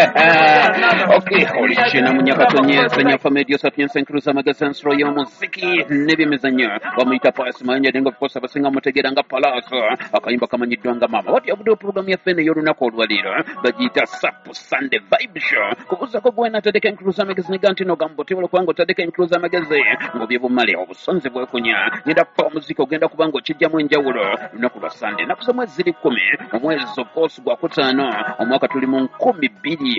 Okay, olishina munyakatonyesa nyafa media sapiensa enkuluza amagezi ensolo y'omuziki n'ebyemizannyo bamuyita Pius Mayanja, naye nga of course abasinga mutegeera nga Palaso. Akayimba kamanyiddwa nga Maama. Wati yavuddewo puroguramu yaffe eno ey'olunaku olwaleero bagiyita Sap Sunday Vibe Show. Kubuuzako gwe natadeka enkuluza amagezi nega nti nogamba otebala kubanga otadeka enkuluza amagezi ng'obyebumale obusonzi bwekunya ngenda kupa omuziki ogenda kuba nga okijjamu enjawulo. Lunaku lwa Sunday, ennaku z'omwezi ziri 10, omwezi of course gwa kutaano, omwaka tuli mu 2026.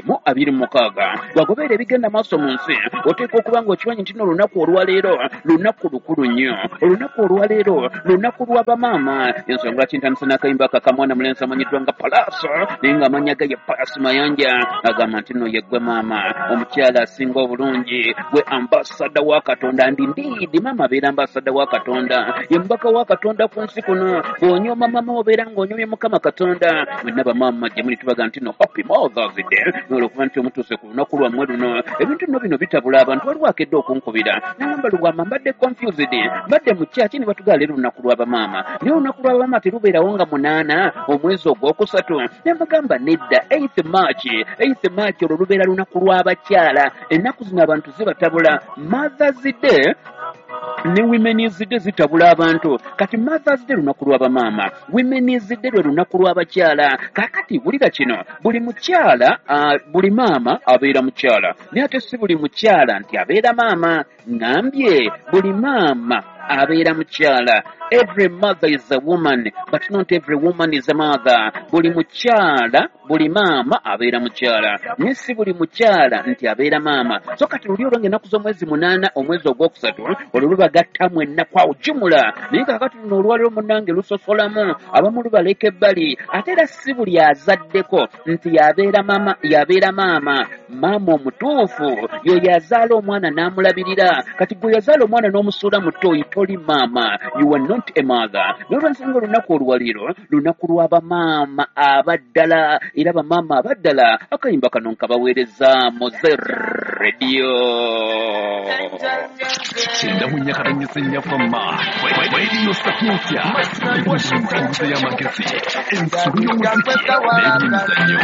Bwagobeera ebigenda maaso mu nsi, oteekwa okuba nga okimanyi nti n'olunaku olwaleero lunaku lukulu nnyo. Olunaku olwaleero lunaku lwa bamaama. Ensonga lwaki ntandise n'akayimba ako akamwana mulenzi amanyiddwa nga Palaso, naye ng'amannya ge ye Pius Mayanja, agamba nti nno yeggwe maama omukyala asinga obulungi, gwe ambasada wa Katonda. Ndi ndiidi maama abeera ambasada wa Katonda, ye mubaka wa Katonda ku nsi kuno. Bw'onyooma maama obeera ng'onyomye Mukama Katonda. Mwenna bamaama gye muli tubaga nti no happy Mothers Day, olwokuba nti omutuuse ku lunaku lwammwe luno. Ebintu nno bino bitabula abantu. Waliwo akedde okunkubira nagamba, "Lubwama, mbadde confused, mbadde mu kyaki ne batugala leero lunaku lw'abamaama, naye olunaku lw'abamaama terubeerawo nga 8 omwezi ogwokusatu." Ne mugamba, "Nedda, 8th March, 8th March olwo lubeera lunaku lw'abakyala." Ennaku zino abantu zibatabula. Mothers Day ne Women's Day zitabula abantu. Kati Mothers Day lunaku lw'abamaama, Women's Day lwe lunaku lw'abakyala. Kaakati wulira kino, buli mukyala, buli maama abeera mukyala, naye ate si buli mukyala nti abeera maama. Ŋŋambye buli maama abeera mukyala. Every mother is a woman, but not every woman is a mother. Buli mukyala, buli maama abeera mukyala, naye si buli mukyala nti abeera maama. So kati luli olwo ng'ennaku z'omwezi 8 omwezi ogwokusatu olwo lubagattamu ennaku awo jumula, naye kakati luno olwaliro munnange lusosolamu abamu, lubaleka ebbali. Ate era si buli azaddeko nti yabeera maama. Yabeera maama. Maama omutuufu yo yazaala omwana n'amulabirira. Kati gwe yazaala omwana n'omusuula mu toyi, toli maama, you are not a mother. Nolwensonga olunaku olwaleero lunaku lw'abamaama abaddala, era bamaama abaddala akayimba kano nkabaweereza Moze Radio. 94.4 Radio Sapientia, enkuza y'amagezi, ensolo y'omuziki n'ebyemizannyo.